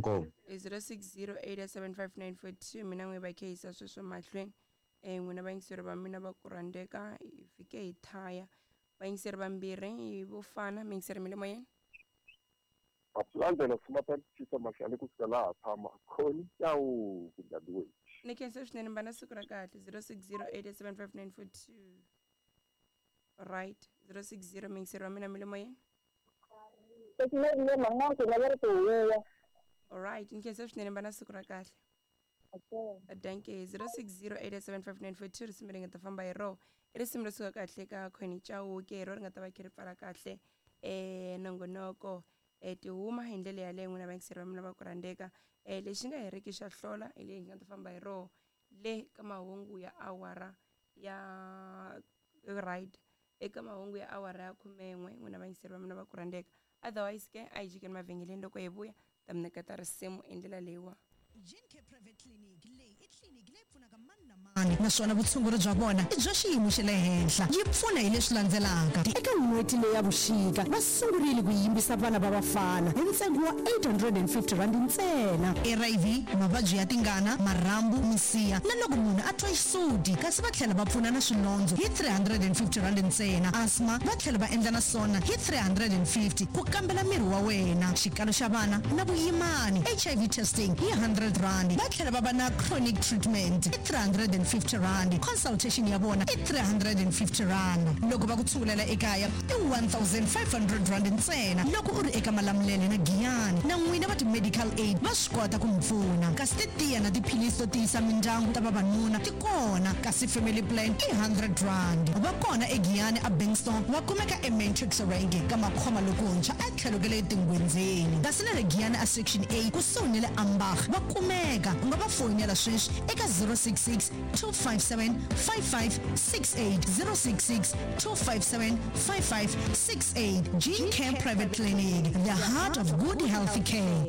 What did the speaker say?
Inkomu. 06087594 mina n'we va kheyisa sweswo mahlweni. N'wina vayingiseri va mina va ku rhandzeka, hi fike hi thaya. Vayingiseri vambirhi hi vo fana, miyingiseri mi le moyeni. Mapulandzela Sumata Mahlale kusuka laha tshama Khoni Chauke Dadewethu. Ni khensa swinene, mi va na siku ra kahle. 06087594. Right, 060, miyingiseri wa mina mi le moyeni. Alright, ni khensa swinene, mi va na siku ra kahle. Danke. 06087594, risimu ri nga ta famba hi roho i risimu ro suka kahle ka Khoni Chauke, hi ro ri nga ta va khe ri pfala kahle nongonoko. Tihuma hi ndlela yaleyo, n'wina vayingiseri va mina va ku rhandzeka. Lexi nga heriki xa hlola hi leyi nga ta famba hi roho le ka mahungu ya awara ya right, eka mahungu ya awara ya 11, n'wina vayingiseri va mina va ku rhandzeka. Otherwise ke a hi jikeni mavhengeleni, loko hi vuya ta mi nyiketa risimu hi ndlela leyiwa. Gene Private Clinic leyi i tliliniki leyi pfunaka mani na mani, naswona vutshunguri bya vona i bya xiyimo xa le henhla. Yi pfuna hi leswi landzelaka. Eka n'hweti leyi ya vuxika, va sungurile ku yimbisa vana va vafana hi ntsengo wa R850 ntsena. HIV, mavabyi ya tingana, marhambu, misiha na loko munhu a twa xisuti, kasi va tlhela va pfuna na swilondzo hi R350 ntsena. Asthma va tlhela va endla na swona hi 350, ku kambela miri wa wena, xikalo xa vana na vuyimani, HIV testing hi R100. Va tlhela va va na chronic treatment i R350, consultation ya vona i R350. Loko va ku tshungulela ekaya i R1500 ntsena loko u ri eka Malamulele na Giyani. Na n'wina va ti-medical aid va swi kota ku mi pfuna. Kasi titiya na tiphilisi to tiyisa mindyangu ta vavanuna ti kona, kasi family plan i R100. Va kona eGiyani a Bankston, va kumeka eMatrix Rank ka Makhoma lokuntshwa etlhelo ka le Tingwenzeni. Kasi na le Giyani a Section A kusuhi ni le Ambach va kumeka. U nga va foyinela sweswi eka 066 257 5568, 066 257 5568. Gene Care Private Clinic, the heart of good health care.